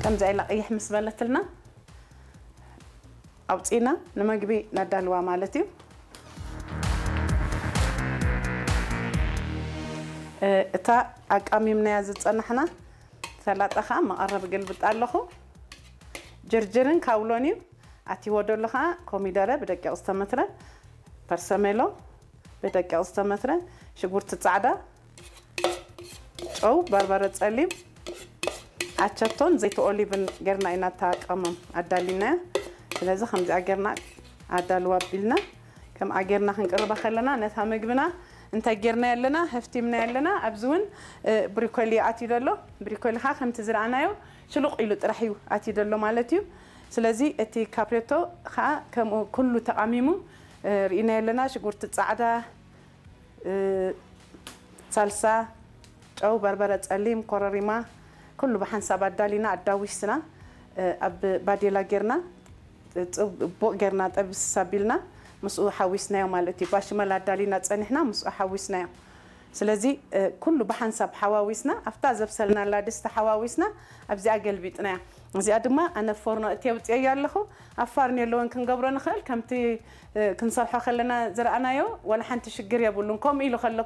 ከምዚ ኢላ ቅይሕ ምስ በለትልና ኣውፂና ንመግቢ ነዳልዋ ማለት እዩ። እታ ኣቃሚምናያ ዝፀናሕና ሰላጣ ከዓ መቐረብ ገልብጥ ኣለኹ። ጅርጅርን ካውሎን እዩ ኣቲዎ ደሎ ከዓ ኮሚደረ ብደቂቕ ዝተመትረ፣ ፐርሰሜሎ ብደቂቕ ዝተመትረ፣ ሽጉርቲ ፃዕዳ፣ ጨው፣ በርበረ ፀሊም፣ ኣቸቶን ዘይቲ ኦሊቭን ጌርና ኢና እታ ቀመም ኣዳሊናያ። ስለዚ ከምዚኣ ጌርና ኣዳልዋ ኣቢልና ከምኣ ጌርና ክንቅርባ ከለና ነታ ምግብና እንታይ ጌርና ኣለና ህፍቲምና ኣለና። ኣብዚ እውን ብሪኮሊ ኣትዩ ደሎ። ብሪኮሊ ከዓ ከምቲ ዝረኣናዮ ሽሉቕ ኢሉ ጥራሕ እዩ ኣትዩ ደሎ ማለት እዩ። ስለዚ እቲ ካፕሬቶ ከዓ ከምኡ ኩሉ ተቓሚሙ ርኢና ኣለና። ሽጉርቲ ፃዕዳ፣ ሳልሳ፣ ጨው፣ በርበረ ፀሊም፣ ኮረሪማ ኩሉ ብሓንሳብ ኣዳሊና ኣዳዊስና ኣብ ባዴላ ጌርና ፅቡቕ ጌርና ጠብስ ኣቢልና ምስኡ ሓዊስናዮ ማለት እዩ። ባሽመል ኣዳሊና ፀኒሕና ምስኡ ሓዊስናዮ። ስለዚ ኩሉ ብሓንሳብ ሓዋዊስና ኣብታ ዘብሰልናላ ድስቲ ሓዋዊስና ኣብዚኣ ገልቢጥናያ። እዚኣ ድማ ኣነ ፎርኖ እቲ ኣውፅኤያ ኣለኹ። ኣብ ፋርኔሎ እውን ክንገብሮ ንኽእል። ከምቲ ክንሰርሖ ከለና ዝረኣናዮ ዋላ ሓንቲ ሽግር የብሉን። ከምኡ ኢሉ ከሎ